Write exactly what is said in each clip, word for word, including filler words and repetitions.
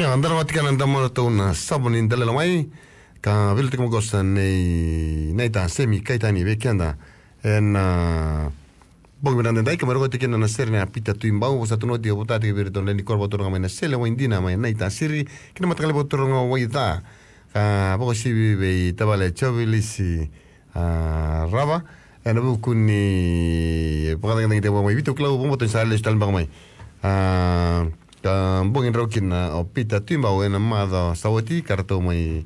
Ia, da na vakatikana na damarau na sabo ni dalelo mai. Ka veilautaki maqosa nei Naita Semi Kaitani vei keda ena bogi vinaka edaidai, ka mai rogoci kina na sere nei Pita Tuibau, vosa tu na oti, vota tiko vei iratou na lewe ni koro vakaturaga mai Nasele, Waidina mai Naitasiri, kei na mataqali vakaturaga o Waica. Ka vakauasivi vei tavale Jovilisi, a, Rava, ena vuku ni vakacagicagi tiko mai Viti, au kila vakabauta ni sa lesu tale beka mai. A, ka bogi drau kina o Pita Tuibau ena macawa sa oti, ka ratou mai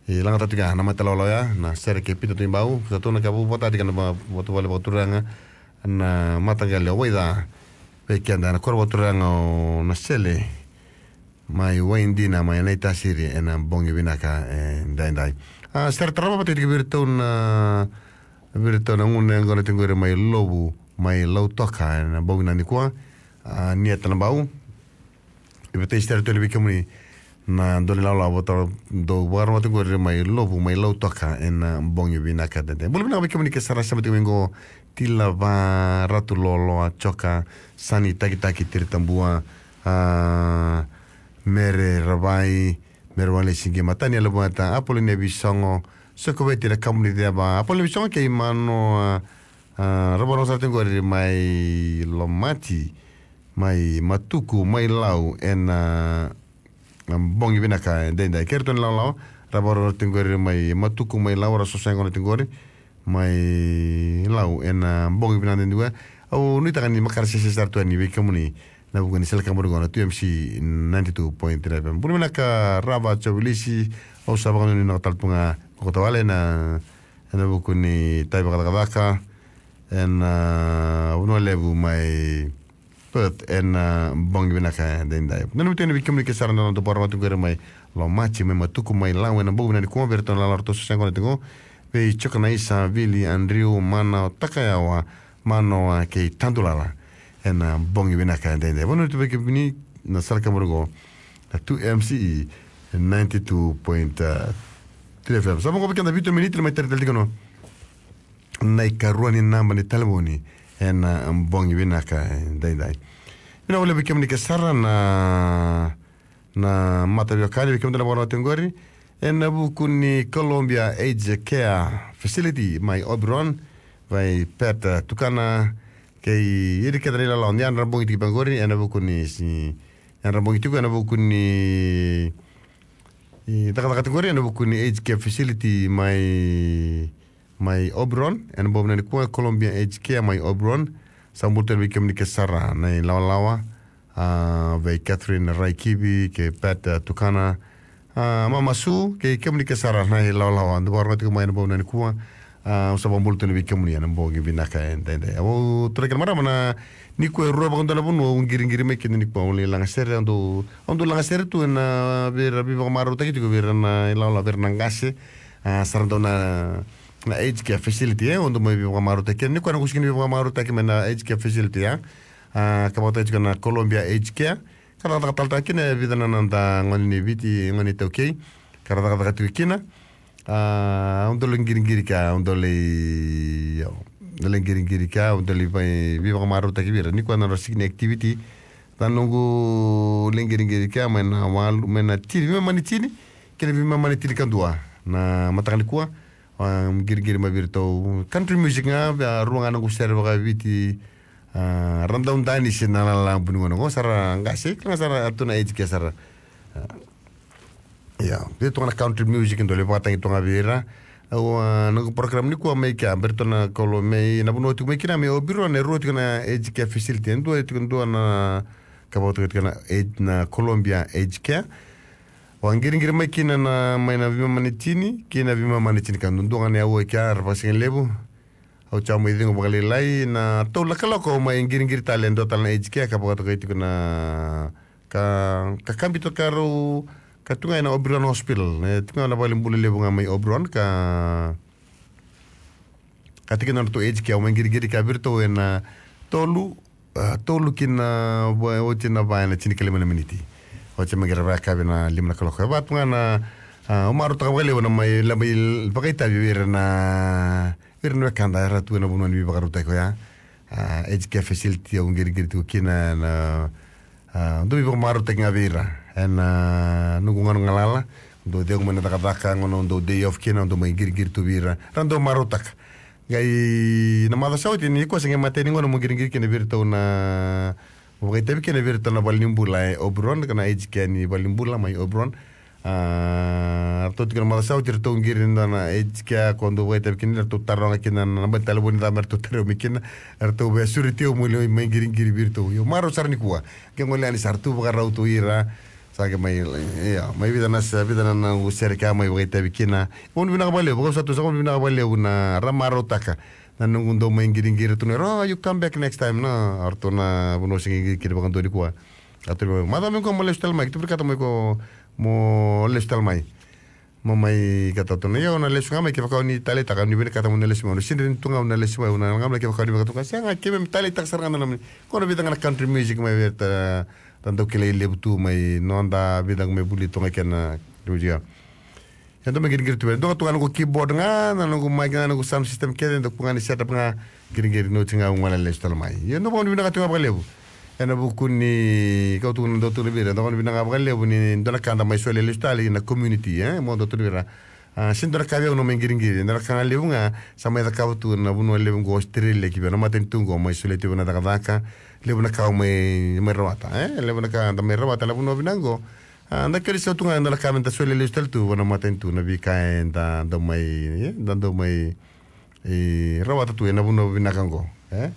lagataka tiko ga na mata lawalawa ya, na sere kei Pita Tuibau, sa tu na ka vakatataki na va-, vatuvale vakaturaga, na mataqali o Waica, vei keda na koro vakaturaga o Nasele, mai Waidina, mai Naitasiri, ena bogi vinaka edaidai. A, sere tarava vata tiko vei iratou na, vei iratou na gone yaqona tiko qori mai Lovu, mai Lautoka, ena bogi nikua, a, Nia Tanabau. E vata sere tu yani vei kemuni na dau ni lawalawa vata dau vakarorogo tiko qori mai Lovu, mai Lautoka, ena bogi vinaka edaidai. Bula vinaka vei kemuni ke sara sema tiko mai qo, Tila Va, Ratu Loloa, Joka, Sani Takitaki, Tiri Tabua, a, Mere Ravai, Mere Walesi, Qi Matani, Yalevueta, Apolonia Visogo, Sokoveti, na Kamuniceva, Apolonia Visogo kei Mano, a, a, rau vakarorogo sara tiko qori mai Lomati, mai Matuku, mai Lau, ena, a, bogi vinaka edaidai. Kei iratou na lawalawa, rau vakarorogo tiko qori mai Matuku, mai Lau, rau sosa yaqona tiko qori mai Lau, ena bogi vinaka edaidai. Au nuitaka ni makare sese sara tu yani vei kemuni, na vuku ni sala ka muri qo na two M C ninety-two point three F M. Bula vinaka Rava Jovilisi, au sa vakanuinui na ka tale tu ga, ko tavale na, ena vuku ni itavi vakacakacaka ena, a, Vanua Levu mai Perth, ena, a, bogi vinaka edaidai. Nanumi tu yani vei kemuni ke sara na noda vakarorogo tiko qori mai Lomati, mai Matuku, mai Lau, ena bogi vinaka nikua, vei iratou na lawalawa ratou sosa yaqona tiko, vei Jokanaisa, Vili, Andrew, Mana, Takayawa, Manoa kei Tadulala, ena bogi vinaka edaidai. Vanuinui tu vei kemuni na sala ka muri qo na two M C E ninety-two point three F M. Sa vo qo vei keda vitu na miniti, na mai tara tale tiko na, na ikarua ni naba ni talevoni ena bogi vinaka edaidai. Vinaka vakalevu vei kemuni ke sara na, na mataveiwekani, vei kemudou na vakarorogo tiko qori ena vuku ni Columbia Aged Care Facility mai Oberon, vei Pat, a, Tukana, kei ira kece na ilawalawa ni yadra bogi tiko vaqori, ena vuku ni si-, yadra bogi tiko ena vuku ni, i, cakacaka tiko qori ena vuku ni Aged Care Facility mai mai Oberon, ena bogi vinaka nikua, Columbia Aged Care mai Oberon. Sa bula tu yani vei kemuni ke sara na ilawalawa, a, vei Catherine Raikivi kei Pat, a, Tukana, a, Mama Su, kei kemuni ke sara na ilawalawa dou vakarorogo tiko mai ena bogi vinaka nikua. A, au sa vakabula tu yani vei kemuni ena bogi vinaka edaidai. Au tarogi kemuni na marama na, nikua e rua vakadua na vanua au qiriqiri mai kina nikua, au lai lagasere, au dau, au dau lagasere tu ena, vei ira veivakamarautaki tiko vei ira na ilawalawa, vei ira na qase, a, sa ra dau na na aged care facility, e, au dau mai veivakamarautaki kina. Nikua na qai sega ni veivakamarautaki mai na aged care facility, e. A, ka vakataki tiko na Columbia Aged Care. Ka cakacaka tale tiko kina e vica na noda gone ni Viti, gone iTaukei. Ka ra cakacaka tiko kina. A, au dau lai qiriqiri kea, au dau lai, au dau lai qiriqiri kea, au dau lai vei, veivakamarautaki vei ira. Nikua na nodra sega ni activity. Na noqu lai qiriqiri kea mai na walu, mai na tini, veimama ni tini kei na veimama ni tinikadua na mataka nikua. A, qiriqiri mai vei iratou. Country music ga, a, rua ga noqu sere vakaviti. A, ra dau danisi na lalabu ni gauna qo, sa ra qase, kila ga sa ra tu na aged care sara. A, ia, vei iratou ga na country music, dau lai vakatagi tu ga vei ira. Au, a, noqu program nikua mai kea, vei iratou na Colu-, mai na vanua tiko mai kina, mai Oberon, e rua tiko na aged care facility, e dua, e tiko dua na, ka vakatokai tiko na aged, na Columbia Aged Care. Au a qiriqiri mai kina na, mai na veimama ni tini kei na veimama ni tinikadua, dua ga na aua e kea, ra vakasigalevu. Au sa mai cegu vakalailai, na tolu na kaloko au mai qiriqiri tale, e dua tale na aged care ka vakatokai tiko na, ka, ka kabita ka rau, ka tu ga ena Oberon Hospital, e, tu ga na valenibula levu ga mai Oberon, ka, ka tiko na nodratou aged care, au mai qiriqiri kea vei iratou ena tolu, a, tolu ki na va, oti na va ena tinikalima na miniti. Oti mai qai ra vakayakavi na lima na kaloko. E va tu ga na, a, au marautaka vakalevu na mai, na mai vakaitavi vei ira na, vei ira na wekada era tu ena vanua ni veivakarautaki oya. A, aged care facility au qiriqiri tiko kina na, a, dau veivakamarautaki ga vei ira. Ena noqu gauna galala, dou cegu mai na cakacaka, gauna dou day off kina, dou mai qiriqiri tu vei ira. Ra dou marautaka. Qai na macawa sa oti ni koya se qai matai ni gauna mo qiriqiri kina vei iratou na, mo vakaitavi kina vei iratou na valenibula e Oberon, ka na aged care ni valenibula mai Oberon. A, ratou tiko na macawa sa oti ratou qiri dua na aged care ko dou vakaitavi kina, ratou taroga kina na naba ni talevoni ca me ratou taroga mai kina, ratou via sureti au mo lai mai qiriqiri vei iratou. Io, marau sara nikua. Ke gole yani sa ratou vakarau tu ira. Sa qai mai, ia, mai vica na se, vica na noqu sere ka mai vakaitavi kina. Gauna vinaka vakalevu, vakau sa tu sa gauna vinaka vakalevu na ra marautaka. Na noqu dau mai qiriqiri tu na ira, "Oh, you come back next time," na, o ratou na vanua se qiriqiri vakadua nikua. Ka tu mai, "Macawa mai qo mo lesu tale mai, keitou vinakata mai qo mo lesu tale mai." Mo mai kata tu na, "Io, na lesu ga mai, kevaka o ni taleitaka, ni vinakata mo na lesu mai, o na sidra ni tu ga mo na lesu mai, o na ga mai, kevaka o ni vinakata tu ga." Sega, keimami taleitaka sara ga na nomuni. Ko na vica ga na country music mai vei ira, ta, ta dau kilai levu tu mai noda, vica ga mai vuli tu ga kei na music. Ia dau mai qiriqiri tu vei ira. Dua ga tu ga noqu keyboard ga, na noqu mic ga, noqu sound system kece, dau ku ga ni setup ga, qiriqiri noqu ga, au ga na lesu tale mai. Ia dau vakanuinui vinaka tu ga vakalevu. Ena vuku ni kau tu na dau tu na vei ira, dau vakanuinui vinaka vakalevu ni dua na ka da mai solia lesu tale na community, e, mo dau tu na vei ira. A, sega ni dua na ka vei au na mai qiriqiri, dua na ka ga levu ga, sa mai cakava tu na vanua levu qo Australia ki vei na matanitu qo, mai solia tu vei na cakacaka, levu na ka au mai, mai rawata, e, levu na ka da mai rawata na vanua vinaka qo. A, da kere sa tu ga, dua na ka me da solia lesu tale tu vei na matanitu, na veika eda dau mai, e, da dau mai, e, rawata tu ena vanua vinaka qo, e.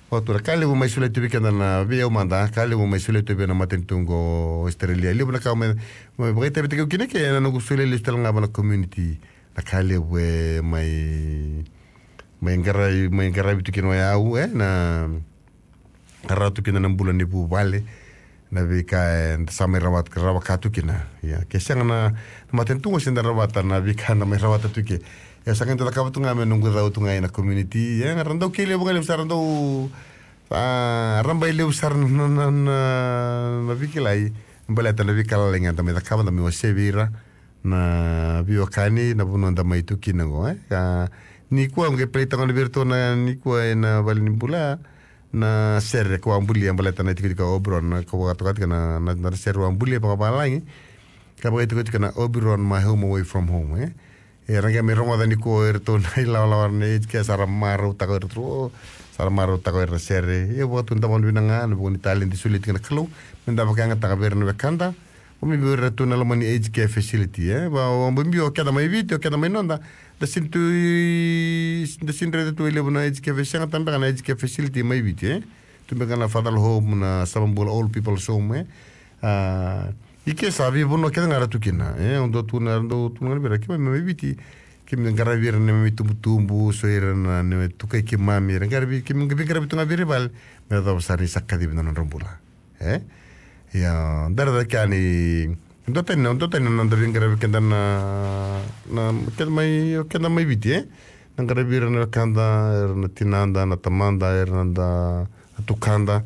Vakatura, ka levu mai solia tu vei keda na vei au mada, ka levu mai solia tu vei na matanitu qo Australia. Levu na ka mai, mai vakaitavitaki au kina ke ena noqu solia lesu tale ga vei na community. Na ka levu e mai, mai qaravi, mai qaravi tu kina o yau, e, na, qaravi tu kina na bula ni vuvale. Na veika eda sa mai rawat-, rawaka tu kina. Ia, ke sega na, na matanitu qo se da rawata na veika eda mai rawata tu ke. Ia sa qai dau cakava tu ga me noqu cau tu ga ena community. Ia, ra dau kei levu ga levu sa ra dau, a, ra bai levu sara na, na, na, na veikilai. Baleta na veika lalai ga da mai cakava, da mai wasea vei ira. Na veiwekani, na vanua da mai tu kina qo, e. Ka, nikua, au qai playtaka gona vei iratou na nikua ena valenibula. Na sere ko a bulia baleta na itikotiko o Oberon, na ko vakatoka tiko na, na, na sere a bulia vakavalagi. Ka vakaitikotiko na Oberon, My Home Away From Home, e. E ra qai mai rogoca nikua o iratou na ilawalawa na aged care, sa ra marautaka o iratou, sa ra marautaka o ira na sere. Ia vakatu da vakanuinui vinaka ga, na vuku ni taledi solia tiko na Kalou. Me da vakayagataka vei ira na wekada. Au biubiu ira tu na loma ni aged care facility, e. Va, au biubiu o keda mai Viti, o keda mai noda. Da sega ni tu, da sega ni raica tu e levu na aged care, sega tabeka na aged care facility mai Viti, e. Tu beka na Father's Home, na Samabula Old People's Home, e. A, i ke sa veivanua kece ga ra tu kina, e. Au dau tu na, dau tu na vei ira, keimami mai Viti. Keimami qaravi ira na neimami tubutubu, so ira na neimami tukai keimami, ira qaravi, keimami qaravi tu ga vei ira i vale. Me yacova sara ni sa kacivi na nodra bula. E? Ia, dara cake yani, dua tani na, dua tani na noda veiqaravi keda na, na, keda mai, keda mai Viti, e? Na qaravi ira na wekada, ira na tinada, na tamada, ira na da, na tukada.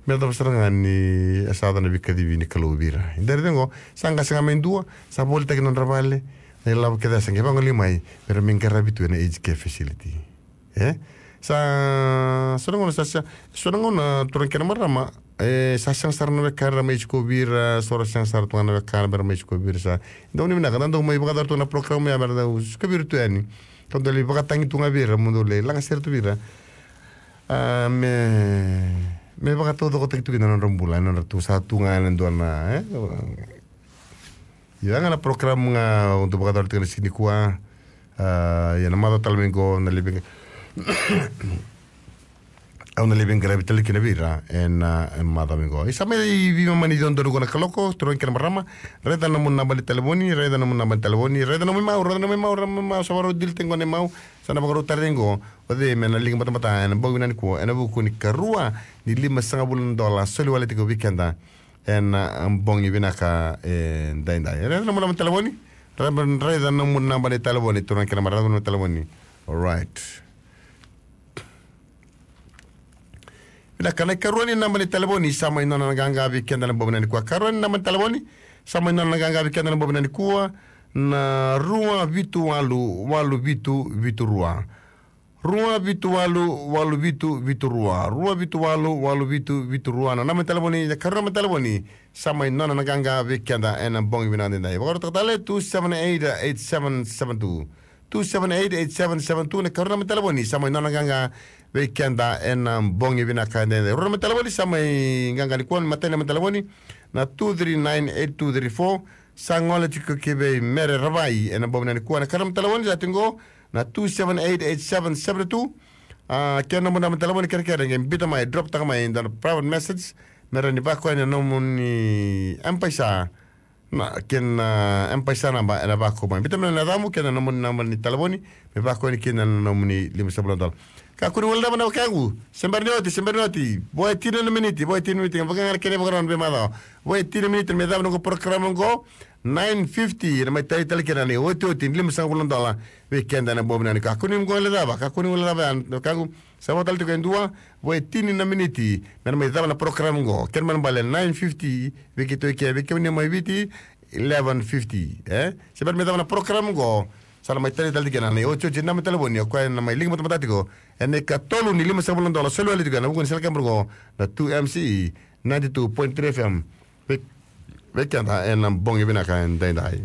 Me yacova sara ga ni, e sa yaco na veikacivi ni Kalou vei ira. Dara cake qo, sa qase ga mai dua, sa volitaki na nodra vale, na ilavo kece sa qai vagolei mai, me ra mai qaravi tu ena aged care facility. E? Sa, so na gauna sa, sa, so na gauna turaga kei na marama, e, sa sega sara na wekana ra mai sikovi ira, so ra sega sara tu ga na wekana me ra mai sikovi ira sa. Dau ni vinaka, da dau mai vakayacora tu na program ya, me ra dau sikovi ira tu yani. Ka dau lai vakatagi tu ga vei ira, mo dau lai laga sere tu vei ira. A, me, me vakataucokotaki tu kina na nodra bula, na nodra tu sa tu ga na dua na, e? Ia ga na program ga au dau vakayacora tiko na siga nikua. A, ia na macawa tale mai qo, na levu ga au na lai veiqaravi tale kina vei ira ena, e, macawa mai qo. Isa mai veimama ni dodonu qo na kaloko, turaga kei na marama. Raica na nomu naba ni talevoni, raica na nomu naba ni talevoni, raica na nomu imau, raica na nomu imau, raica na nomu imau, sa vakarau dili tiko qo na imau. Sa na vakarau tara qo o cei me na liga batabata ena bogi vinaka nikua, ena vuku ni karua ni lima sagavulu na dola soli wale tiko vei keda. Ena, a, bogi vinaka edaidai. Raica na nomu naba ni talevoni. Raica na nomu naba ni talevoni. Turaga kei na marama, raica na nomu talevoni. Alright. Vinaka, na ikarua ni naba ni talevoni sa mai nona na qaqa vei keda na bogi vinaka nikua. Karua ni naba ni talevoni sa mai nona na qaqa vei keda na bogi vinaka nikua. Na rua vitu walu walu vitu vitu rua. Rua vitu walu walu vitu vitu rua, rua vitu walu walu vitu vitu rua na naba ni talevoni. Na karua ni naba ni talevoni sa mai nona na qaqa vei keda ena bogi vinaka daidai. Vakarota tale, two seven eight eight seven seven two. Two seven eight eight seven seven two na karua ni naba ni talevoni sa mai nona na qaqa vei keda ena bogi vinaka daidai. Rua na naba ni talevoni sa mai qaqa nikua, matai na naba ni talevoni na two three nine eight two three four. Sa gole tiko ki vei Mere Ravai ena bogi nikua. Na karua ni naba ni talevoni sa tiko na two seven eight eight seven seven two. A, kei na nomuni naba ni talevoni, kerekere qai biuta mai, drop taka mai dua na private message me rawa ni vakoya na nomuni M-PAiSA. Na kei na M-PAiSA naba ena vakoya mai. Biuta mai na yacamu kei na nomuni naba ni talevoni me vakoya yani kina na nomuni limasagavulu na dola. Kakua ni guilecava na wekaqu. Se bera ni oti, se bera ni oti. Vo e tini na miniti, vo e tini na miniti. Vaka ga na kena ivakarau ena veimacawa. Vo e tini na miniti me cava na noqu porokaramu oqo. Nine fifty na mai taleitale kina na iotioti ni limasagavulu na dola vei keda ena bogi vinaka nikua. Kakua ni guilecava, kakua ni guilecava ya na wekaqu. Sa vo tale tiko e dua, vo e tini na miniti me na mai cava na porokaramu oqo. Kena ibalebale nine fifty vei keitou i ke, vei kemuni mai Viti eleven fifty, e? Se bera me cava na porokaramu oqo, sa na mai taleitale tiko kina na iotioti ni naba ni talevoni, o koya ena mai liga batabata tiko ena ikatolu ni limasagavulu na dola, soli wale tiko ena vuku ni sala keburu oqo na two M C E ninety-two point three F M. Vei, vei keda ena bogi vinaka edaidai.